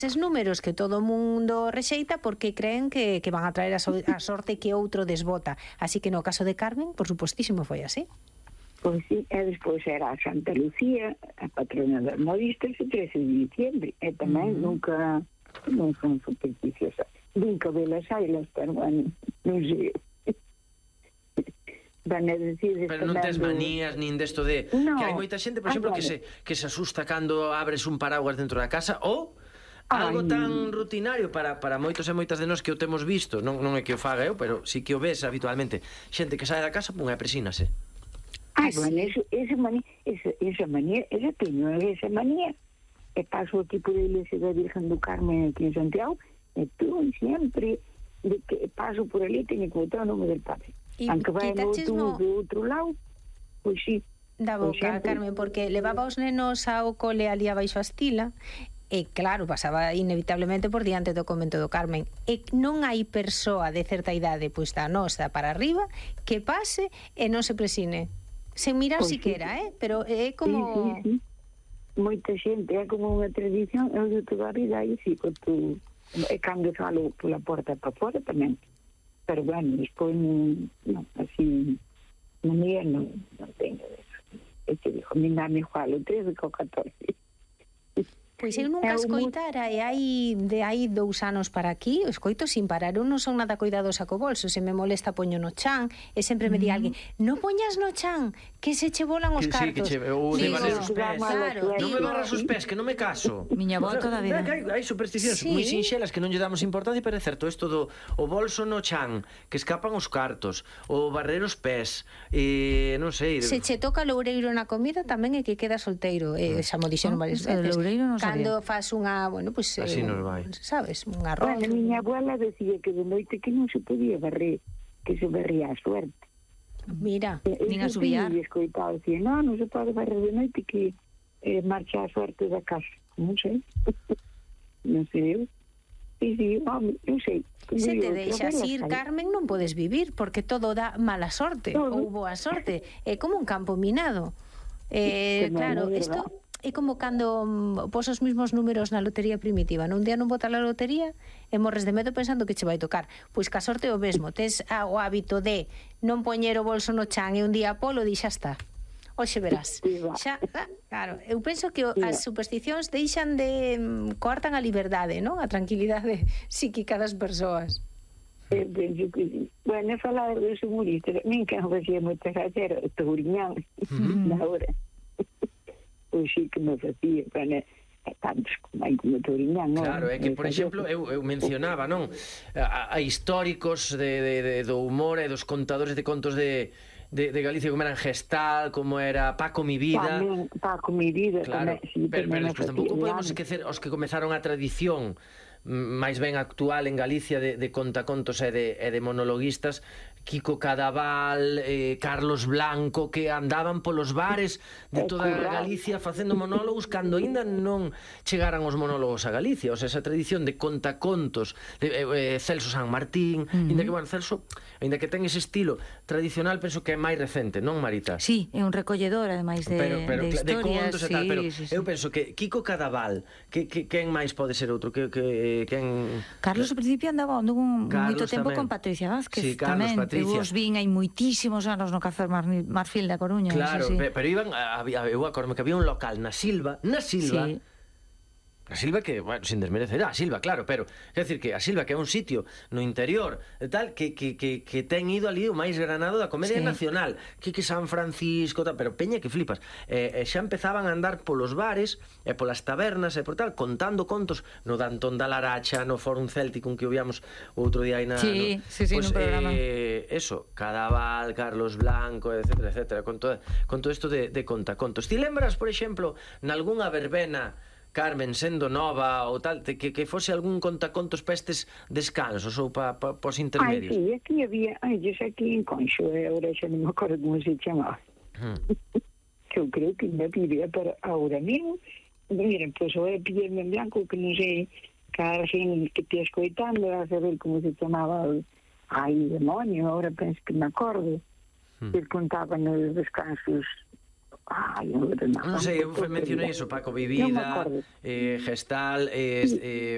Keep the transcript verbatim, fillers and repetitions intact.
eses números que todo o mundo rexeita porque creen que, que van a traer a, so, a sorte que outro desbota. Así que no caso de Carmen, por supostísimo, foi así. Pois sí, e despois era a Santa Lucía, a patrona das modistas, o trece de diciembre, e tamén uh-huh. nunca non son supersticiosas. Nunca velas ailas, pero bueno, non sei. Van a decir... Pero non tes manías, nin desto de... No. Que hai moita xente, por exemplo, que se, que se asusta cando abres un paraguas dentro da casa, ou... algo tan rutinario para, para moitos e moitas de nós que o temos visto, non, non é que o faga eu, pero sí que o ves habitualmente, xente que sae da casa, pum, e presínase. Ah, bueno, eso, esa manía, esa, esa manía, esa teño, esa manía, e paso aquí por a iglesia da Virgen do Carmen aquí en Santiago, e tú sempre, de que paso por ali, teño que botar o nome del padre. E aunque vai no outro, no... do outro lado, pois sí. Da boca, Carmen, porque levaba os nenos ao cole ali abaixo a Estila, e claro, pasaba inevitablemente por diante do convento do Carmen, e non hai persoa de certa idade, pois da nosa para arriba, que pase e non se presine, sen mirar pues siquera, sí. eh? Pero é como... Sí, sí, sí. Moita xente, é como unha tradición, eu de toda a vida, aí sí, que tú, e cando salo pola porta para fora tamén, pero bueno, despois non, non así, non mía, non, non teño eso. E te dixo, mi nami igual, o trece co catorce. Pois eu nunca escoitara, e hai de hai dous anos para aquí, o escoito sin parar. Eu non son nada cuidadosa co bolso, se me molesta poño no chan, e sempre me di alguén, non poñas no chan, que se che volan os cartos. Sí, que che, ou de barrer os pés. Claro, non me barras os pés, que non me caso. Miña avó toda a vida. Hai, hai supersticións sí. moi sinxelas que non lle damos importancia, pero é certo, isto do o bolso no chan, que escapan os cartos, o barrer os pés, e non sei... Se che toca loureiro na comida, tamén é que queda solteiro, e xa mo dixeron varias veces. Loureiro non sabía. Cando fas unha, bueno, pues, así eh, nos vai. Sabes, un arroz. Bueno, miña abuela decía que de noite que non se podía barrer, que se barría a suerte. Mira, e, nin a subiar. E escoitaba, decía, non, non se pode barrer de noite que eh, marcha a suerte da casa. Non sei. non sei eu. Sí, sí, home, non sei. Se te deixas ir, Carmen, non podes vivir, porque todo dá mala sorte, todo. Ou boa sorte. É como un campo minado. Eh, claro, isto... É como cando um, pos os mismos números na lotería primitiva. Non día non bota a lotería e morres de medo pensando que che vai tocar. Pois ca sorte o mesmo. Tes a, o hábito de non poñer o bolso no chan e un día polo di xa está. Oxe verás. Xa, claro, eu penso que o, as supersticións deixan de um, coartan a liberdade, non? A tranquilidade psíquica das persoas. Eu penso que sí. Bueno, falar dos humoristas, min que non facía moita gracia era o Touriñán, na hora. Pois sí que me facía, bueno, tantos como hai como Touriñán, non? Claro, é que, por exemplo, eu, eu mencionaba, non? A, a históricos de, de, de, do humor e dos contadores de contos de, de, de Galicia, como eran Gestal, como era Paco Mi Vida. Tamén, Paco Mi Vida, claro, tamén. Sí, pero, pero despois tampouco podemos esquecer os que comezaron a tradición máis ben actual en Galicia de, de contacontos e de, e de monologuistas, Kiko Cadaval, eh, Carlos Blanco, que andaban polos bares de toda Galicia facendo monólogos cando ainda non chegaran os monólogos a Galicia. O sea, esa tradición de contacontos de, eh, Celso San Martín, uh-huh. ainda que, bueno, Celso, ainda que ten ese estilo tradicional, penso que é máis recente, non, Marita? Sí, é un recolledor, ademais de, pero, pero, de historias, de contos e sí, tal, pero sí, sí. eu penso que Kiko Cadaval, que, que, quen máis pode ser outro? Que, que, quen... Carlos, ao principio, andaba un moito tempo tamén. Con Patricia Vázquez, sí, Carlos, tamén. Patricia. Eu os vin hai moitísimos anos no Café Marfil da Coruña. Claro, sí, sí. pero iban, había, eu acordo que había un local na Silva, na Silva, sí. A Silva que, bueno, sin desmerecer a Silva, claro, pero é dicir que a Silva que é un sitio no interior e tal, que, que, que, que ten ido ali o máis granado da comedia sí. nacional, que que San Francisco, tal, pero peña que flipas. E, e xa empezaban a andar polos bares e polas tabernas e por tal, contando contos no Dantón da Laracha, no Fórum Céltico, que o víamos outro día aí na... Sí, no, sí, sí, pues, no programa. Eh, eso, Cadaval, Carlos Blanco, etcétera, etcétera, con todo, con todo isto de, de contacontos. Ti lembras, por exemplo, nalgúnha verbena, Carmen, sendo nova ou tal, que, que fose algún contacontos para estes descansos ou para pa, pa os intermedios? Ai, sí, aquí había, ai, yo sei aquí en Conxo, eh, ahora xa non me acordo como se chamaba. Hmm. Que eu creo que me pidía para ahora mesmo. Miren, pois pues, o pillarme en blanco, que non sei, cada xen que te escoitando, a saber como se chamaba, ai, demonio, ahora penso que me acordo, hmm. que contaban nos descansos. Ai, non, non sei, eu mencionei iso, Paco Mi Vida, eh, Gestal, eh, eh,